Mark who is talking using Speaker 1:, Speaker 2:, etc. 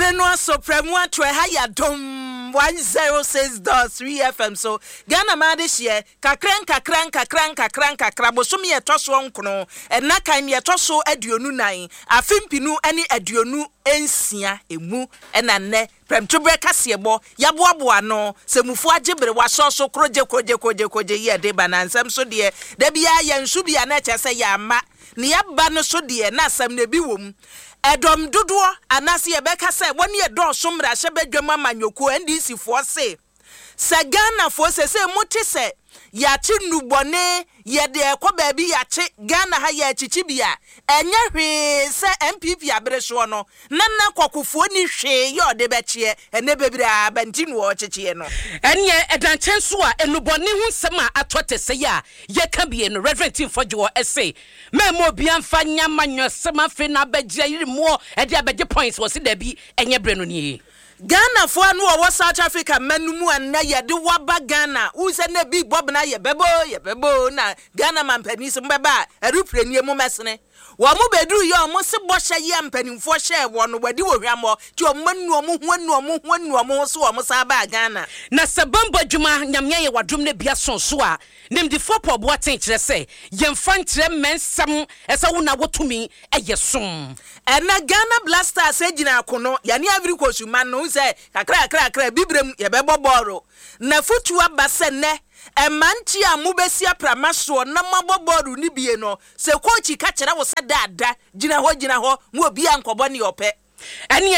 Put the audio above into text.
Speaker 1: Ɛbere no aso prɛmo ato ɛha yɛ Adom 106.3 FM so. Ghana man adehyeɛ, kakra nkakra nkakra nkakra nkakra, bosome a ɛtɔ soɔ nkono, ɛna kan nea ɛtɔ so 24, afe mpinu ne 26 emu ɛna nnɛ prɛmtoberɛ kaseɛbɔ yɛaboaboa ano sɛ mufoɔ agye bere wasɔ so korogye korogye korogye korogye yɛ de ba na nsɛm so deɛ da biara yɛnso bi a na ɛkyerɛ sɛ yɛama nea ɛba no so deɛ na asɛm no ebi wɔ mu. Ɛdɔm dodoɔ anaase yɛbɛka sɛ wɔne ɛdɔɔso mmarahyɛbadwam amanyɔkuo NDC foɔ se sɛ Ghanafoɔ sesei mote sɛ yɛakye nnubɔne yɛde ɛkɔ baabi yɛakye Ghana ha yɛrekyekye bi a ɛnyɛ hwee sɛ NPP abere soɔ no na na kɔkofoɔ nni hwee yɛ ɔde bɛkyeɛ ɛnɛ bebree aba nti na wɔrekyekyeɛ no.
Speaker 2: Ɛneɛ ɛda nkyɛn nso a nnubɔne ho nsɛm a atɔ te sɛi a yɛka bie no Rev. Timfo Dwoɔ se Mɛmma obiara mfa nyɛ amanyɔsɛm afei na abɛgye ayeremmoɔ de abɛgye points wɔse dabi ɛnyɛ berɛ no nie.
Speaker 1: Ghanafoɔ a na wɔwɔ South Africa mma no mu a nnɛ yɛde wo aba Ghana, wohu sɛ na ebi rebɔ bena yɛbɛba o, yɛbɛba o, na Ghana mampanin se mobɛba a, aeroplane nie mommɛsene. Wɔn bɛduruiɛ a wɔn se bɔhyɛ yi a mpanimfoɔ hyɛɛ wɔn no wɔadi wɔ hwammɔ, nti wɔn anu wɔn ho anu wɔn ho anu wɔn ho so wɔn san baa Ghana.
Speaker 2: Na sɛ bambɔ adwuma Nyame ayɛ wadom no bi aso so a, Nimdefoɔ Paul Boateng kyerɛ sɛ yɛmfa nkyerɛ mmɛnsɛm sɛ wo na wɔ tumi yɛ som.
Speaker 1: Ɛnnɛ Ghana Black Stars gyina akono, yɛne Ivory Coast man no, wohu sɛ kakra kakra kakra Abibirem yɛbɛbɔ bɔɔlo. N'afotuo aba sɛ nnɛ mmeranteɛ a mobɛsi aprama soɔ na moabɔ bɔɔlo no bie no, sɛ kookyi ka kyerɛ wo sɛ da a da, gyina hɔ gyina hɔ, ma obiara nkɔbɔ nea ɔpɛ.
Speaker 2: Ɛneɛ.